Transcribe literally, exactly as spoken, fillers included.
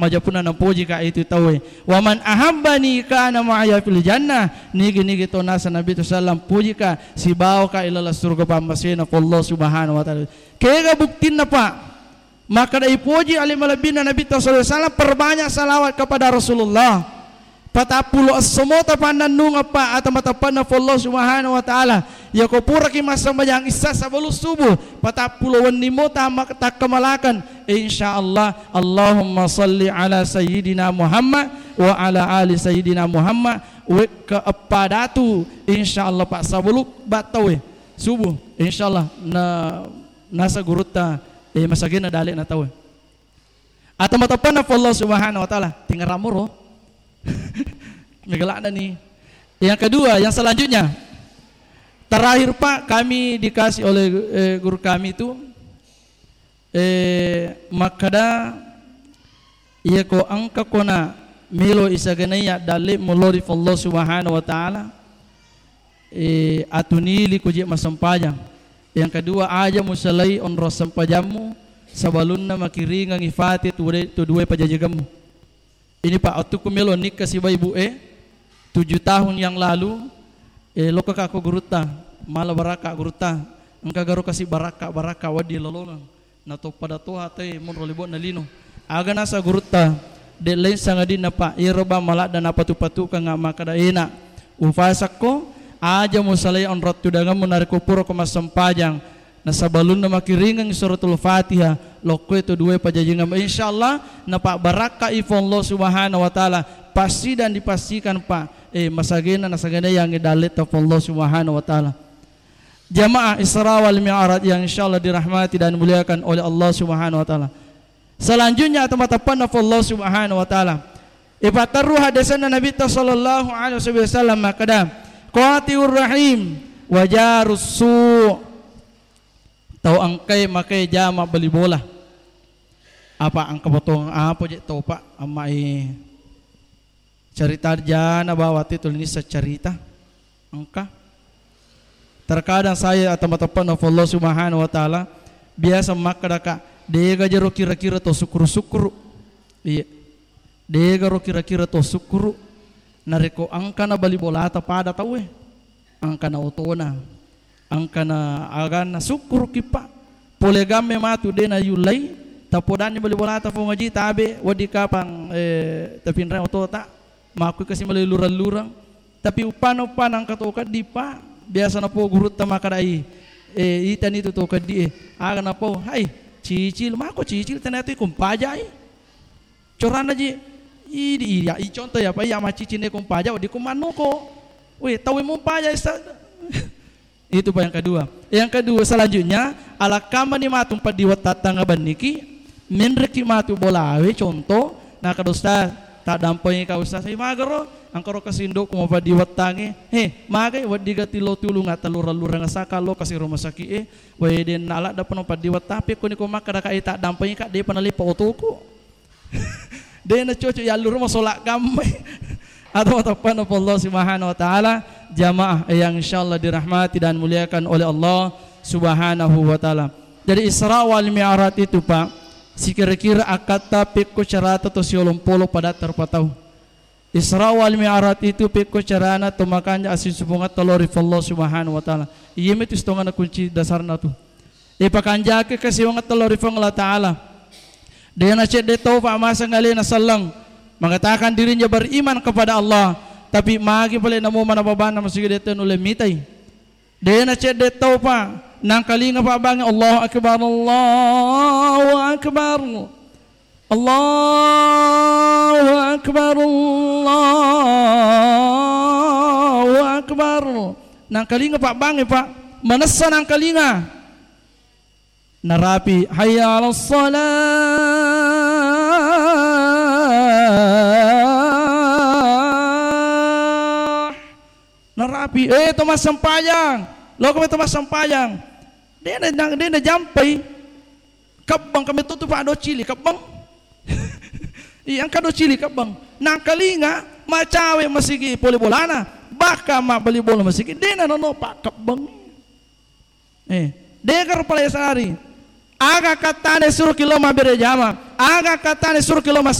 Aja punna napoji ka itu tauwe. "Wa man ahabbani kana ma'aya fil jannah." Nigi-nigi to nasa Nabi tu sallam poji ka, sibawa ka ilala surga pammasena Allah Subhanahu wa Ta'ala. Kega buktinna, Pak? Makkeda ipoji ale malebbina Nabi sallallahu alaihi wasallam, perbanyak salawat kepada Rasulullah. Patappulo esso mota pannannungeng, Pak, ata mateppanna Allah Subhanahu wa Ta'ala. Yako puraki massambajang isya sebelum subuh, patappulo wenni mota mak-, takkamalakan. Insya Allah, Allahumma salli ala Sayyidina Muhammad wa ala ali Sayyidina Muhammad. Wekka eppa datu, insya Allah, Pak, sebelum battawe subuh, insya Allah, na, nasa gurutta, eh, masagena dale na tawe. Atau matappanna Allah Subhanahu wa Ta'ala, tinggal ramuro. Megalakna ni. Yang kedua, yang selanjutnya, terakhir, Pak, kami dikasih oleh, eh, guru kami itu, eh, makkeda, iya ko engka kona melo isagenai addalle mulori Allah Subhanahu wa Ta'ala, eh, atunili ko je massempajang. Yang kedua, aja musalai onrong sempajammu sabalunna makiringangi fate tu de-, tu dua pajajigammu. Ini, Pak, waktu ku melo nikah siba ibu e, tujuh tahun yang lalu, eh, lokka ka ko gurutta, mala barakka gurutta, engka garo kasi barakka, barakka waddi lolongeng. Na to pada toha te monro libo'na lino. Aga nasa gurutta, de' lain sangadinna, Pak, iyaro ba maladda napatu-patukanga makkeda, ena, ufasakko, aja musalai onrong tudangemmu narekko purako massempajang. Nasabalunna makiringeng Suratul Fatihah, lokkoe to duae pajajingemmu. Insyaallah, napabbarakkai Puang Allah Subhanahu wa Ta'ala. Pasti dan dipastikan, Pak, eh, masagena, nasagena yang dalletta Puang Allah Subhanahu wa Ta'ala. Jamaah Isra wal Mi'raj yang insyaallah dirahmati dan dimuliakan oleh Allah Subhanahu wa Ta'ala. Selanjutnya, teman-teman, Allah Subhanahu wa Ta'ala. Ipatterru hadisna Nabitta sallallahu alaihi wasallam makkeda, "Qati'ur rahim wa jarus su'." Tau engkae make jama bali bola. Apa engka potong apa je tau, Pak? Ammai Carita jana bawang te tuli nisseng carita. Engka. Terkadang saya atau mateppe'na Allah Subhanahu wa Ta'ala, biasa makkeda, Kak, dega jero kira-kira to sukkuru-sukkuru. Iya. Dega ro kira-kira to sukkuru. Narekko engkana bali bolata pada tauwe. Engkana otona. Engkana aganna, sukkuruki, Pak. Pole gamme matu de' nayullai, tapodanni bali bolata Puang Haji, tabe' wedding kapang, eh, tapinreng otota, makkui kasi malai lureng-lureng. Tapi uppana-uppana engka to keddi, Pak. Biasa napo gurutta makkedai, eh, itani tu to keddi, eh. Aga napo, "Hai, cicil, mako cicil, tania tu ikung pajai." Coranna ji, idi, iya, i contoh ya, Pak, iya maccicing neko mpaja, wedding ko mannuko. Weh, tau mumpaja, Ustaz. Itu, Pak, yang kedua. Yang kedua, selanjutnya, alakkamani matu paddiwettatang abanniki, menreki matu bolawe, contoh, na kada Ustaz, tak dampingi ka Ustaz, saya magero, angkaro kasindokku mau paddiwettange, he, magai, wedding gati lo tulung, atau lurang-lurang asaka lo kasih rumah sakit, eh, weh, den nalak dapat paddiwetta, tapi kuni ko makkeda ka, eh, tak dampingi ka, depa nalipa otoku. De' nacocok yalluru masola gammai. Atau teppe'na Allah Subhanahu wa Ta'ala, jamaah yang insyaallah dirahmati dan muliakan oleh Allah Subhanahu wa Ta'ala. Jadi Isra wal Mi'raj itu, Pak, sikira-kira akkatta pekko carata to siolompolo pada terpatau. Isra wal Mi'raj itu pekko carana to makanja asing supungatta lao ri Allah Subhanahu wa Ta'ala. Iya mitu setengahna kunci dasarna tu. Ipakanjaki kasiwangetta lao ri Puang Allah Ta'ala. De' nacedde tau, Pak, masang alena selleng mengatakan dirinya beriman kepada Allah, tapi magi pale namo mana babanna masigi de' tau nulle mitai. De' nacedde tau, Pak, nangkalinga pabbange, Allahu Akbar, Allahu Akbar. Allahu Akbar, Allahu Akbar. Nangkalinga pabbange, Pak. Manessa nangkalinga. Narapi, "Hayya 'alas shalah." Narapi, "Eh, to massempajang. Loko to massempajang." De' na, de' najampai. Kebbang kami tutu, Pak, do cili kebbang. Iya, engka do cili kebbang. Nangkalinga macawe masigi pole bolana. Bahkan mabbali bola masigi, de' na nono, Pak, kebbang. Eh, de' garo pale sari. Aga kattane suruki lo mabbere jama. Aga kattane suruki lo mas-